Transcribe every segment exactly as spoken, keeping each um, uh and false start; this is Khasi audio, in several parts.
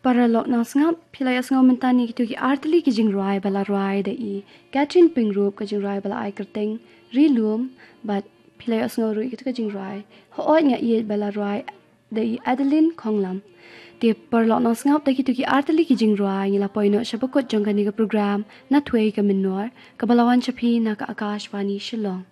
Paralok nongsngap, phi la ïohsngew mynta ïa kito ki artylli ki jingrwai ba la rwai da i Catherine Pyngrope, ka jingrwai ba la ai kyrteng Ri Lum, bad phi la ïohsngew ruh ïa kito ki jingrwai Hooid Nga Ïeit ba la rwai da i Adeline Khonglam. Te paralok nongsngap, da kito ki artylli ki jingrwai ngi la poi noh sha ba kut jong kane ka program Na Thwei Ka Mynnor, kaba la wan sha phi na ka Akashvani Shillong.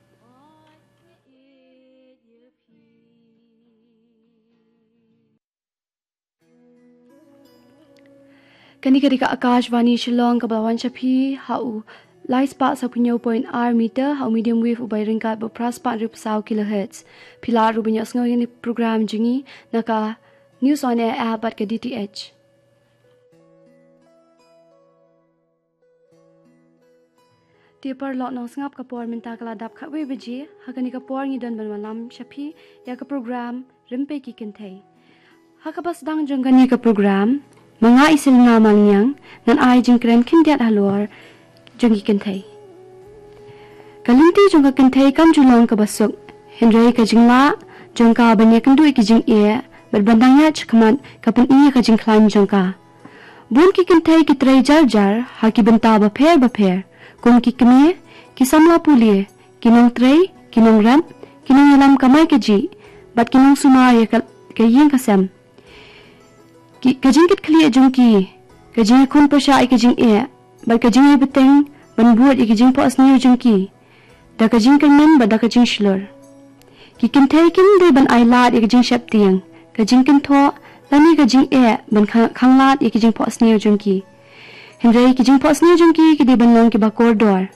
Kane ka dei ka Akashvani Shillong, kaba la wan sha phi ha u lai spah saphew hynñiew point ar meter ha u medium wave uba ryngkat bad phra spah hynriewphew saw kilohertz. Phi lah ruh ban ïohsngew ïa kane ka program jong ngi na ka News on Air app bad ka D T H. Te paralok nongsngap, ka por mynta ka la dap khatwei baje. Ha kane ka por ngi don ban wallam sha phi ïa ka program Rympei ki Kynthei. Ha kaba sdang jong kane ka program, ma nga i Selina Maliang ngan ai jingkren khyndiat halor jong ki kynthei. Ka lynti jong ka kynthei kam ju long kaba suk, hynrei ka jinglah jong ka ban ïakynduh ïa ki jingeh bad ban dang ïaid shakhmat ka pyni ïa ka jingkhlaiñ jong ka. Bun ki kynthei ki trei jar jar ha ki bynta bapher bapher, kum ki kmie, ki samla pule, ki nongtrei, ki nongrep, ki nongïalam kamai kajih, bad ki nongsumar ïa ka, ka ïing ka sem. Ki, ka jingkitkhlieh jong ki, ka jingïakhun pyrshah ïa ka jingeh, bad ka jingïabteng ban bud ïa ka jingphohsniew jong ki da ka jingkyrmen bad da ka jingshlur. Ki kynthei kim dei ban ai lad ïa ka jingsheptieng, ka jingkynthoh, lane ka jingeh ban kha-, khanglad ïa ka jingphohsniew jong ki. Hynrei ki jingphohsniew jong ki ki dei ban long kiba kordor.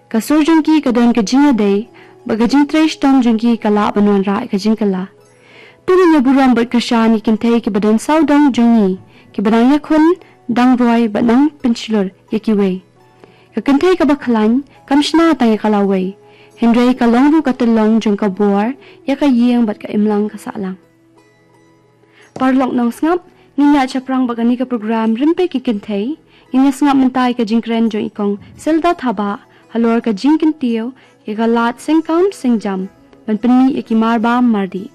Ka sur jong ki ka don ka jingïadei, bad ka jingtrei shitom jong ki ka lah ban wanrah ïa ka jingkylla. To ngin ïa burom bad kyrshan ïa ki kynthei kiba don sawdong jong ngi, kiba dang ïakhun, dang roi, bad dang pynshlur ïa kiwei. Ka kynthei kaba khlaiñ kam shna tang ïa ka lawei, hynrei ka long ruh ka tyllong jong ka bor ïa ka ïing bad ka imlang ka sahlang. Paralok nongsngap, ngin ïaid shaphrang bad kane ka program Rympei ki Kynthei. Ngin ïa sngap mynta ïa ka jingkren jong i Kong Silda Thabah halor ka jingkyntiew ïa ka lad sengkam sengjam ban pynmih ïa ki marbam mardih.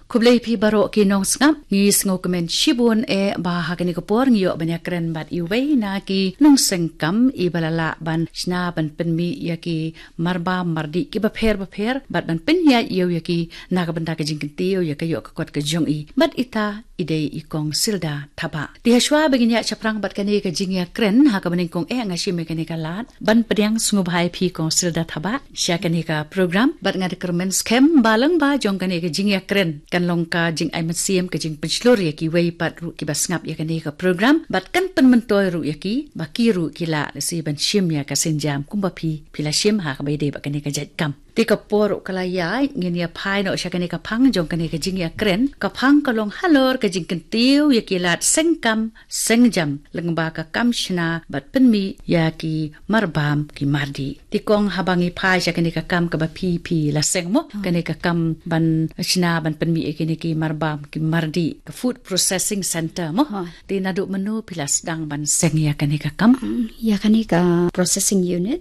Khublei phi baroh ki nongsngap, ngi sngewkmen shibun eh ba ha kane ka por ngi ïoh ban ïakren bad iwei na ki nongsengkam iba la lah ban shna ban pynmih ïa ki marbam mardih kiba pher bapher bad ban pynïaid ïew ïa ki na ka bynta ka jingkyntiew ïa ka ïoh ka kot ka jong i. Bad ita i dei i Kong Silda Thabah. Te hashwa ba ngin ïaid shaphrang bad kane ka jingïakren ha kaba nyngkong eh nga shim ïa kane ka lad ban pdiang sngewbha ïa phi Kong Silda Thabah sha kane ka program, bad nga da kyrmen skhem ba lyngba jong kane ka jingïakren kan long ka jingai mynsiem, ka jingpynshlur ïa kiwei pat ruh kiba sngap ïa kane ka program, bad kan pynmyntoi ruh ïa ki ba ki ruh ki lah lehse ban shim ïa ka sienjam kumba phi phi la shim ha kaba ïadei bad kane ka jait kam. Te ka por ruh ka la ïaid, ngin ïa phai noh sha kane ka phang jong kane ka jingïakren. Ka phang ka long halor ka jingkyntiew ïa ki lad sengkam sengjam lyngba ka kam shna bad pynmih ïa ki marbam ki mardih. Te Kong, haba ngi phai sha kane ka kam kaba phi phi la seng mo, kane ka kam ban shna ban pynmih ïa kine ki marbam ki mardih, ka food processing center mo. Ha. Te naduh mynno phi la sdang ban seng ïa kane ka kam? Mm, ïa kane ka processing unit